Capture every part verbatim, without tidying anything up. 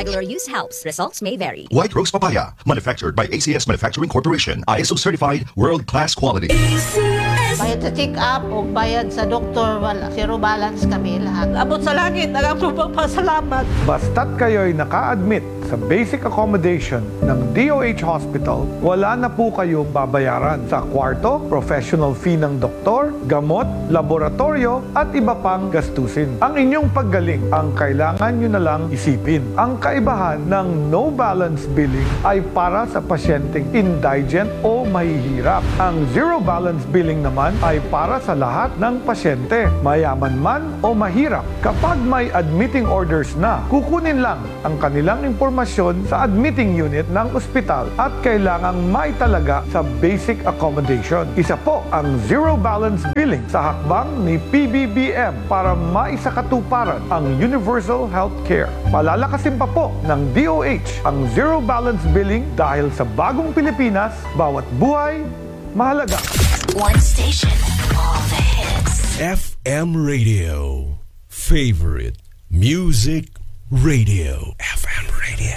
Regular use helps. Results may vary. White Rose Papaya, manufactured by A C S Manufacturing Corporation, I S O certified, world-class quality. Bayad sa check-up o bayad sa doktor, wala. Zero balance kami lahat. Abot sa langit ang akong pagpasalamat. Basta't kayo'y naka-admit sa basic accommodation ng D O H Hospital, wala na po kayong babayaran sa kwarto, professional fee ng doktor, gamot, laboratorio at iba pang gastusin. Ang inyong paggaling ang kailangan nyo na lang isipin. Ang kaibahan ng no balance billing ay para sa pasyenteng indigent o mahihirap. Ang zero balance billing naman ay para sa lahat ng pasyente, mayaman man o mahirap. Kapag may admitting orders na, kukunin lang ang kanilang impormasyon sa admitting unit ng ospital at kailangang maitalaga sa basic accommodation. Isa po ang zero balance billing sa hakbang ni P B B M para maisakatuparan ang universal health care. Palalakasin pa po ng D O H ang zero balance billing dahil sa bagong Pilipinas, bawat buhay mahalaga. One station, all the hits. F M Radio. Favorite Music Radio. F M Radio.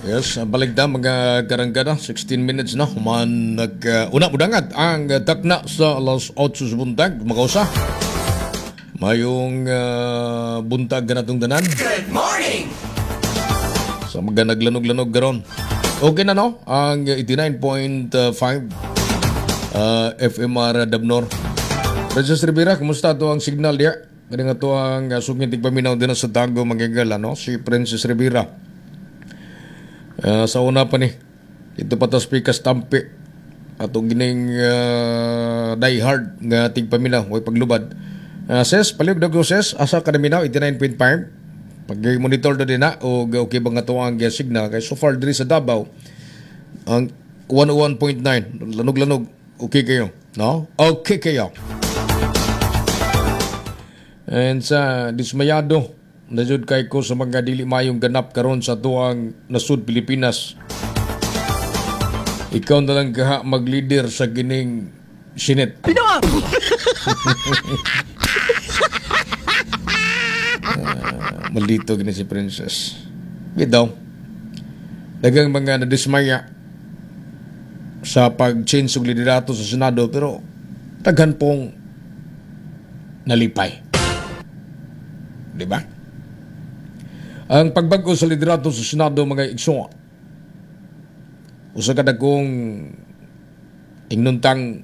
Yes, balik na mga karanggana, sixteen minutes na, human nag, uh, una mudangat ang uh, takna sa alas otso sa buntag, makausa. Mayong uh, buntag ganatong tanan. Good morning! Sa mga naglanog-lanog garon. Okay na, no? Ang eighty-nine point five uh, F M R Dabnor. Princess Rivera, kumusta to ang signal diya? Kani nga to ang uh, suging tigpaminaw din sa Tago magigala, no? Si Princess Rivera. Uh, sa una pa ni, ito pa ta speakers tampi. Atong gining uh, die hard nga tigpaminaw, way paglubad. Uh, ses, palihog daw ses, asa ka naminaw, eighty-nine point five. Pag monitor do din na, o okay ba nga to ang signal? Kay so far diri sa Davao, ang one oh one point nine, lanog-lanog, okay kayo, no? Okay kayo. And sa dismayado, na jud kay ko sa mga dili mayong ganap karon sa tuang nasud Pilipinas. Ikaw na lang kaha mag-leader sa gining Senate. Pinoa! Uh, maldito gini si Princess. Bitaw. Daghang mga nadismaya sa pag-change og liderato sa Senado, pero daghan pong nalipay. Di ba? Ang pagbag-o sa liderato sa Senado, mga igsoon, usa ka dagkong ingnuntang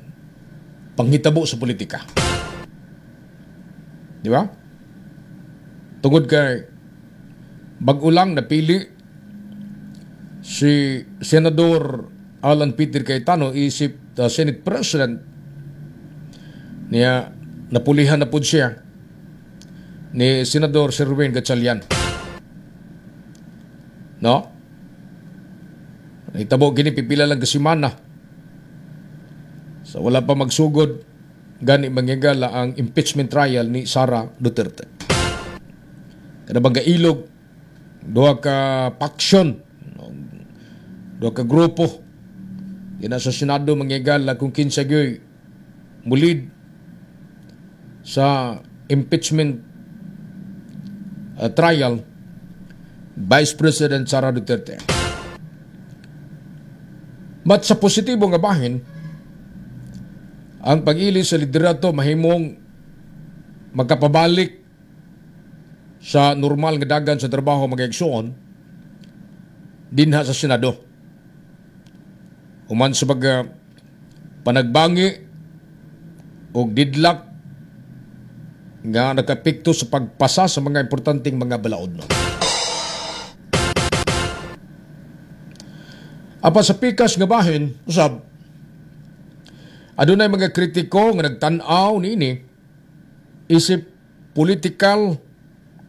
panghitabo sa politika. Di ba? Tungod kay bag-o lang napili si Senador Alan Peter Cayetano isip uh, Senate President niya, napulihan na pud siya ni Senador Sherwin Gatchalian. No? Itabo gini pipila lang kasimana. So wala pa magsugod gani mangyagala ang impeachment trial ni Sara Duterte. Kada bang ilog duha ka faction, duha ka grupo dina sa Senado mangyagala kung kinsa gyoy mulid sa impeachment uh, trial Vice President Sara Duterte. But sa positibo nga bahin, ang pag-ili sa liderato mahimong magkapabalik sa normal nga dagan sa trabaho, mga igsoon, dinha sa Senado. Human sa pag uh, panagbangi og deadlock nga nakapikto sa pagpasa sa mga importanteng mga balaod, no. Apa sa pikas nga bahin, usab, adunay mga kritiko nga nagtan-aw niini isip political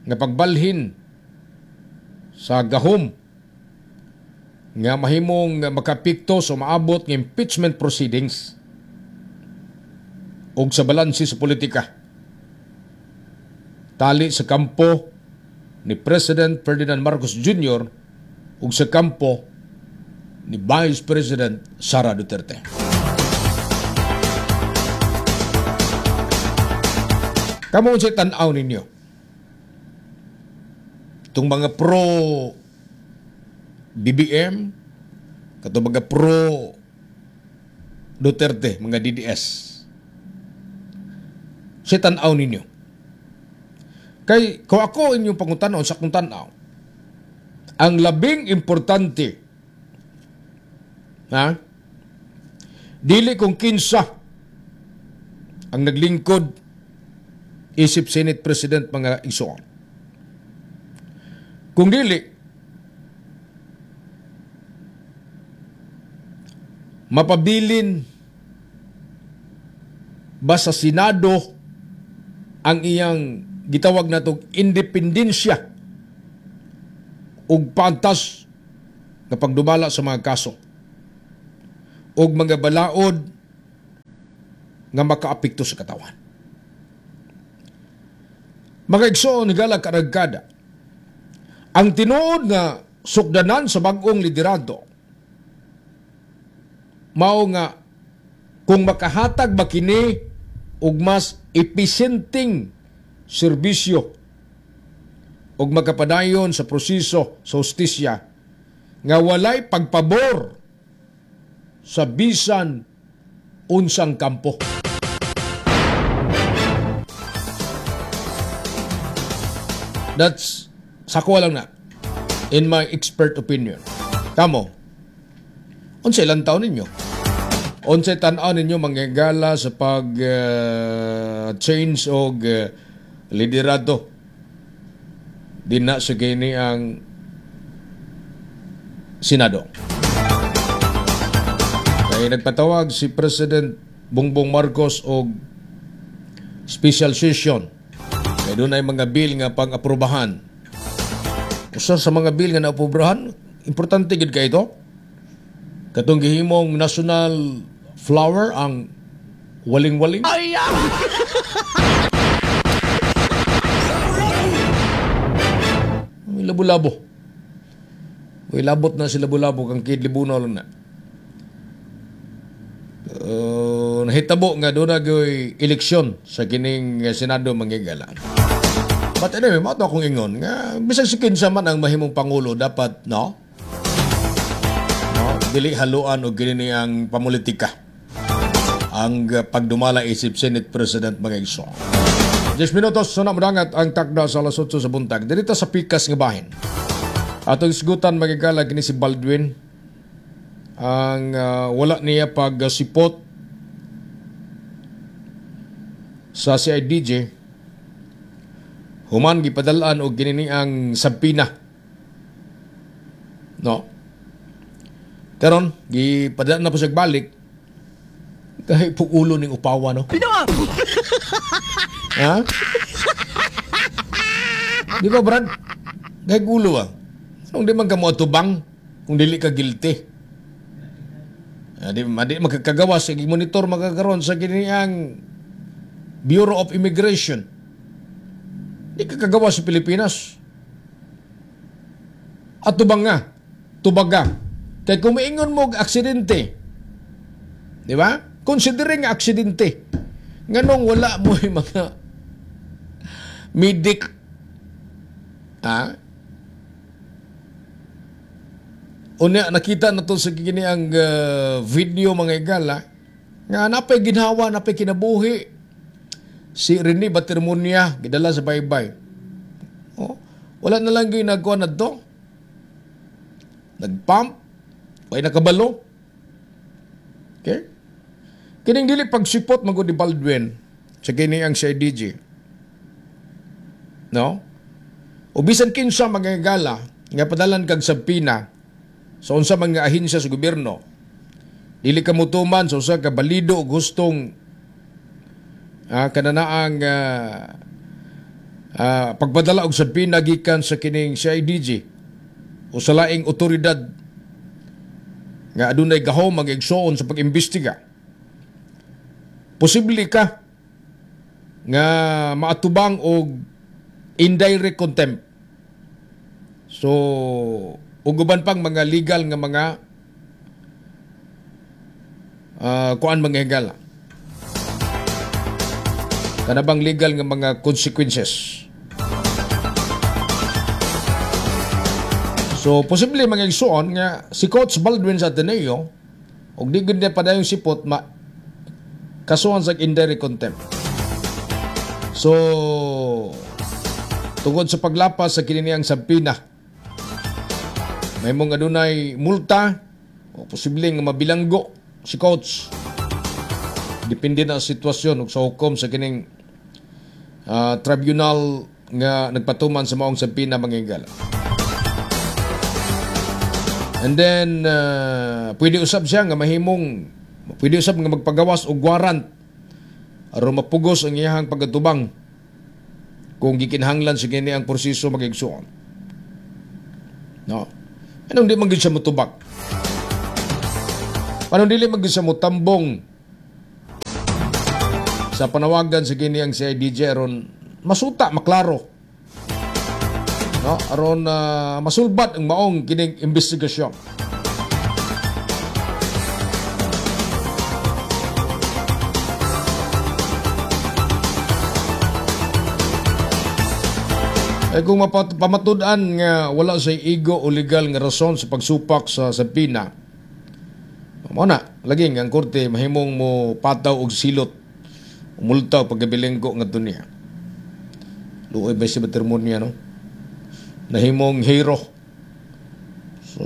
nga pagbalhin sa gahom nga mahimong makapikto sa maabot nga impeachment proceedings ug sa balanse sa politika. Tali sa kampo ni President Ferdinand Marcos Junior ug sa kampo ni Vice President Sara Duterte. Kamo unsay tan-aw ninyo? Itong mga pro B B M, katong mga pro Duterte, mga D D S. Sa tan-aw ninyo. Kay kung ako inyong pangutanon sa akong tan-aw, ang labing importante, ha, dili kung kinsa ang naglingkod isip Senate President, mga igsoon. Kung dili mapabilin ba sa Senado ang iyang gitawag natong independensya ug pantas nga pagdumala sa mga kaso ug mga balaod nga makaapekto sa katawan. Mga igsoon, higala karagkada, ang tinuod nga sukdanan sa bag-ong liderato mao nga kung makahatag ba kini og mas epesyenteng serbisyo ug makapadayon sa proseso sa hustisya nga walay pagpabor sa bisan unsang kampo. That's sa ko lang na, in my expert opinion. Kamo, unsay lantaw ninyo? Unsay tan-aw ninyo, manggala, sa pag uh, change og uh, liderato dinha sa kini ang Senado? Kay nagpatawag si President Bongbong Marcos og special session. Kay dunay mga bill nga pang-aprobahan. Usa sa mga bill nga naaprobahan, importante gid kay ito. Katong gihimong national flower ang waling-waling. Ay! May labo-labo. Uy, labot na si labo-labo kang Kid Libuno lang na. Uh, nahitabo nga doon na gyoy eleksyon sa kining Senado, manggigala. But anyway, mao to akong ingon nga bisan si kinsa man ang mahimong pangulo, dapat, no? No, dili haluan og kini ang pamulitika ang uh, pagdumala isip Senate President, mga igsoon. ten minutos sa namudangat ang takda sa alas otso sa buntag. Dirita sa pikas nga bahin. Atong isgutan, magigala, kini si Baldwin ang uh, wala niya pagsipot sa C I D J human gipadalaan og kini ang subpoena. No. Karon gipadala na po siya balik kay pugulo ning upawa, no. Ha? Di ba, Brad? Kay gulo ah. Anong di man ka mo atubang kung dili ka guilty? Ah, di, di makakagawa sa monitor magkakaroon sa kiniang Bureau of Immigration. Di ka kagawa sa Pilipinas. At tubang nga, tubaga. Kaya kung maingon mo og aksidente, di ba? Considering nga aksidente, nganong wala mo yung mga medic, ha? Unya, nakita na to sa kini ang uh, video, mga igala, nga napay ginhawa, napay kinabuhi si Rene Batermunia, gidala sa baybay. Oh, wala na lang ginagawa na to. Nagpump, way nakabalo. Okay? Kining dili pagsipot magud ni Baldwin sa kini ang C I D J. No? O bisan kinsa, mga igala, nga padalan kag subpoena sa unsa mga ahensya sa gobyerno, dili ka mutuman sa usa ka balido o gustong ah, kananaang ah, ah, pagpadala og subpoena gikan sa kining C I D J o sa laing otoridad nga adunay gahom mag-igsoon sa pag-imbestiga. Posible ka nga maatubang og indirect contempt. So, ug uban pang mga legal nga mga uh, kuan, mga higala. Kana bang legal nga mga consequences. So, posible mga igsuon nga si Coach Baldwin sa Ateneo og di gud niya padayong sipot ma kasuhan sa indirect contempt. So, tungod sa paglapas sa kininiang subpoena, may mong adunay multa o posible nga mabilanggo si coach. Depende na sa sitwasyon ug sa hukom sa kining uh, tribunal nga nagpatuman sa maong subpoena, mga higala. And then uh, pwede usab siya nga mahimong pwede usab nga magpagawas og warrant aron mapugos ang iyahang pagatubang kung gikinahanglan sa kini ang proseso, mga igsuon. No. Anong di man gyud siya motubag? Anong dili man gyud siya motambong sa panawagan sa kini ang C I D J aron masuta, maklaro? No, aron uh, masulbad ang maong kining investigasyon. Ay kung mapat- pamatud-an nga wala say igo o legal nga rason sa pagsupak sa subpoena, mao na lagi nga ang korte mahimong mo pataw og silot, multa o pagkabilinggo ngadto niya. Luoy ba si Batermonia, no? Nahimong hero. So,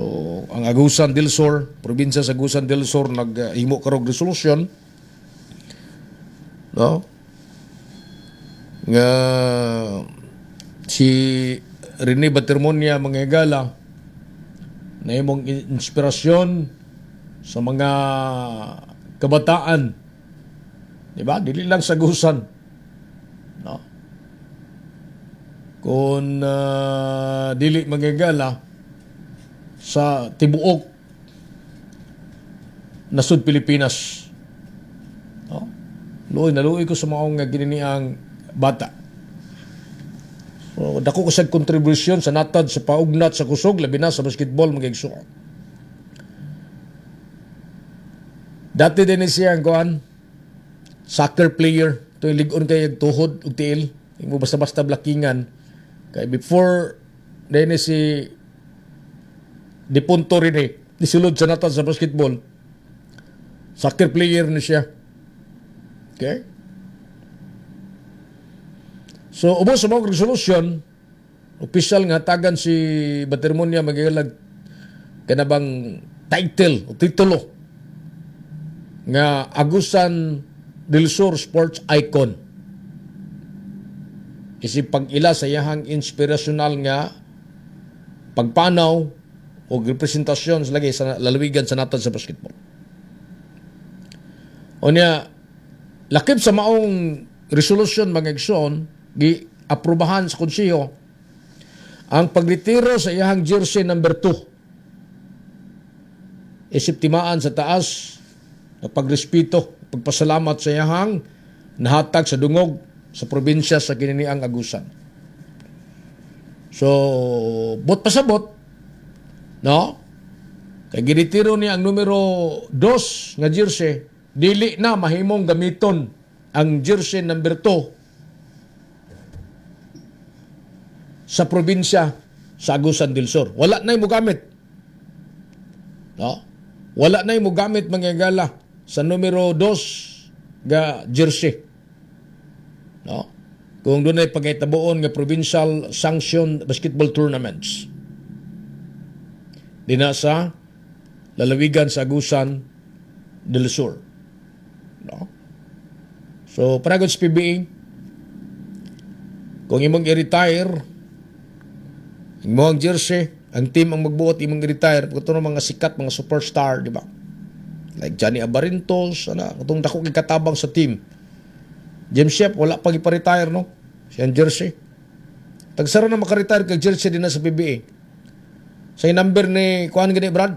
ang Agusan del Sur, probinsya sa Agusan del Sur, naghimo karog resolusyon, no? Nga si Rene Batermonia, mga higala, nahimong inspirasyon sa mga kabataan. Di ba? Dili lang sa Agusan. No? Kung uh, dili, mga higala, sa tibuok nasud Pilipinas. No? Luoy, naluoy ko sa maong gininiang bata. So, dako ko sa kontribusyon sa natad sa paugnat sa kusog, labi na sa basketball, mga igsuon. Dati din siya ang kuan, soccer player. Ito yung lig-on kay tuhod ug tiil. Yung mo basta-basta blakingan. Kay before din si dipunto rin eh, nisulod sa natad sa basketball. Soccer player ni siya. Okay? So, ubos sa mga resolusyon, opisyal nga tagan si Batermonia magilag kanabang title o titulo nga Agusan del Sur Sports Icon. Isip pag-ila sa iyahang inspirational nga pagpanaw o representasyon sa lagi sa lalawigan sa natad sa basketball. O niya, lakip sa maong resolusyon, mga igsoon, gi-aprobahan sa konseho ang pagretiro sa iyahang jersey number two. Isip timaan sa taas na pagrespeto, pagpasalamat sa iyahang nahatag sa dungog sa probinsya sa kininiang Agusan. So, bot pasabot, no? Kay giretiro niya ang numero dos nga jersey, dili na mahimong gamiton ang jersey number two sa probinsya sa Agusan del Sur. Wala na mo gamit. No? Wala na mo gamit, mga gala, sa numero dos ga jersey. No? Kung doon ay pagkitabuon nga provincial sanction basketball tournaments. Dina sa lalawigan sa Agusan del Sur. No? So, para sa P B A, kung imong i-retire imong jersey, ang team ang magbuot imong i-retire, kuto mga sikat, mga superstar, di ba? Like Johnny Abarintos, ana, katong dako kay katabang sa team. James Shep, wala pag ipa-retire, no? Siyang jersey. Tagsara na maka-retire kag jersey din na sa P B A. Sa number ni kuan gani Brad?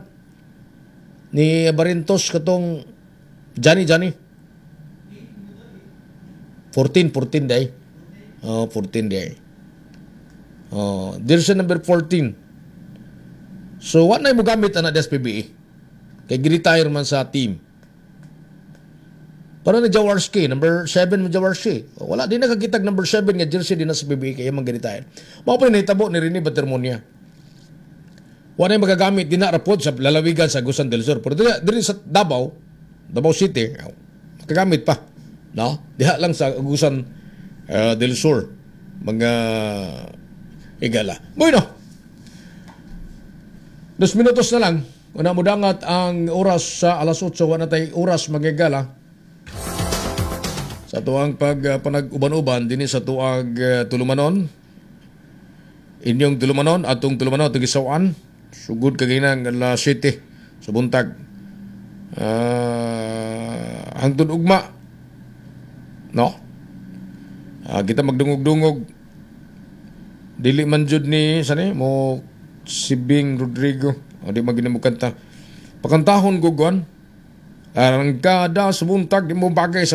Ni Abarintos katong Johnny Johnny. fourteen, fourteen day. Oh, fourteen day. Oh, jersey number fourteen. So, what na mo gamit ana des P B A? Kay gi-retire man sa team. Para ni Jaworski, number seven mo Jaworski. Wala, di nakakitag number seven nga jersey din na sa P B A kaya man gi-retire. Mao pa nahitabo ni Rene Batermonia. Wala magagamit din na rapod sa lalawigan sa Agusan del Sur. Pero diri, diri sa Davao, Davao City, magagamit pa. No? Diha lang sa Agusan uh, del Sur mga higala. Bueno. Dos minutos na lang. Una mudangat ang oras sa alas otso, wala tay oras, mga higala. Sa tuang pag uh, panag-uban-uban dinhi sa tuag uh, tulumanon. Inyong tulumanon, atong tulumanon, atong gisawaan. Sugod kaginang alas siyete sa buntag. Uh, hangtod ugma. No? Uh, kita magdungog-dungog. Dili man jud ni sani mo si Bing Rodrigo. O di man mo kanta. Pakantahon ko gon. Arangkada sa buntag, di mo bagay sa